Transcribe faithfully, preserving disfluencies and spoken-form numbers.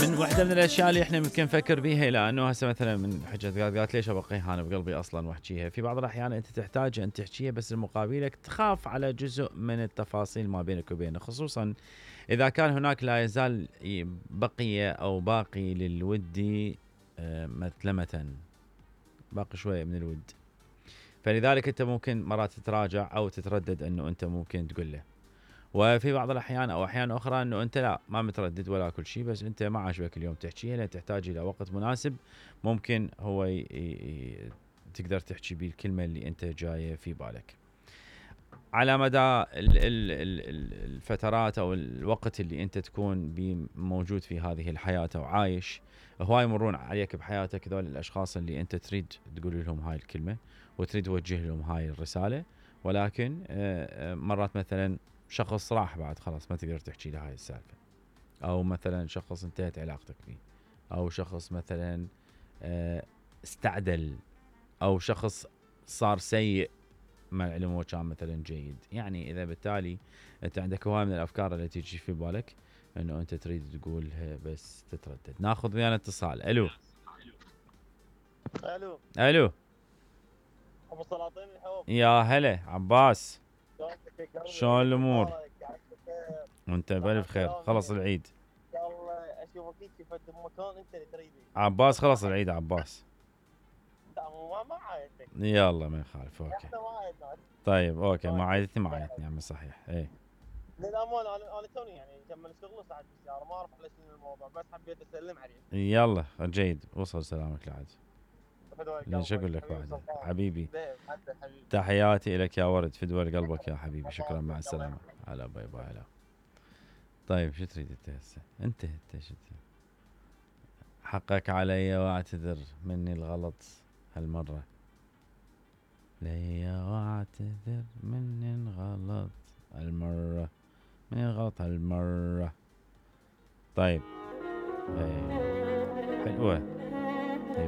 من واحدة من الاشياء اللي احنا ممكن نفكر بيها، لانه هسه مثلا من حجة قالت قالت ليش ابقيها انا بقلبي اصلا واحكيها. في بعض الاحيان انت تحتاج ان تحكيها بس المقابلك تخاف على جزء من التفاصيل ما بينك وبينه، خصوصا اذا كان هناك لا يزال بقية او باقي للود مثلمة، باقي شوية من الود. فلذلك انت ممكن مرات تتراجع او تتردد انه انت ممكن تقول له. وفي بعض الاحيان او احيان اخرى انه انت لا ما متردد ولا كل شيء، بس انت ما عجبك اليوم تحكيها لان تحتاج الى وقت مناسب، ممكن هو ي... ي... تقدر تحكي بيه الكلمه اللي انت جايه في بالك. على مدى ال ال ال الفترات او الوقت اللي انت تكون موجود في هذه الحياه او عايش، هواي يمرون عليك بحياتك ذول الاشخاص اللي انت تريد تقول لهم هاي الكلمه وتريد توجه لهم هاي الرساله، ولكن مرات مثلا شخص راح بعد خلاص ما تقدر تحكي له هاي السالفه، او مثلا شخص انتهت علاقتك فيه، او شخص مثلا استعدل، او شخص صار سيء مع العلم هو كان مثلا جيد. يعني اذا بالتالي انت عندك هواي من الافكار اللي تجي في بالك انه انت تريد تقولها بس تتردد. ناخذ ويانا اتصال. الو الو الو ابو سلاطين الحب، يا هلا عباس، شلون الامور؟ وانت بالف خير، خلص العيد ان شاء الله اشوفك هيك في مكان انت اللي تريده. عباس خلص العيد عباس. ما ما عايدتك. يلا ما يخالف اوكي. طيب اوكي ما عايدتني ما عايدتني عمي صحيح. اي للامانه انا انا توني يعني كمل الشغل صعد بالسياره، ما اعرف على شنو الموضوع، بس حبيت اسلم عليك. يلا جيد، وصل سلامك لعد. ليش اقول لك بعد حبيبي، تحياتي لك يا ورد، فدوى قلبك يا حبيبي، شكرا مع السلامه. على باي باي. هلا. طيب شو تريد انت هسه؟ انت انت شو حقك علي واعتذر مني الغلط هالمره، ليا واعتذر مني الغلط هالمره، مني الغلط هالمره. طيب ايه حلوه.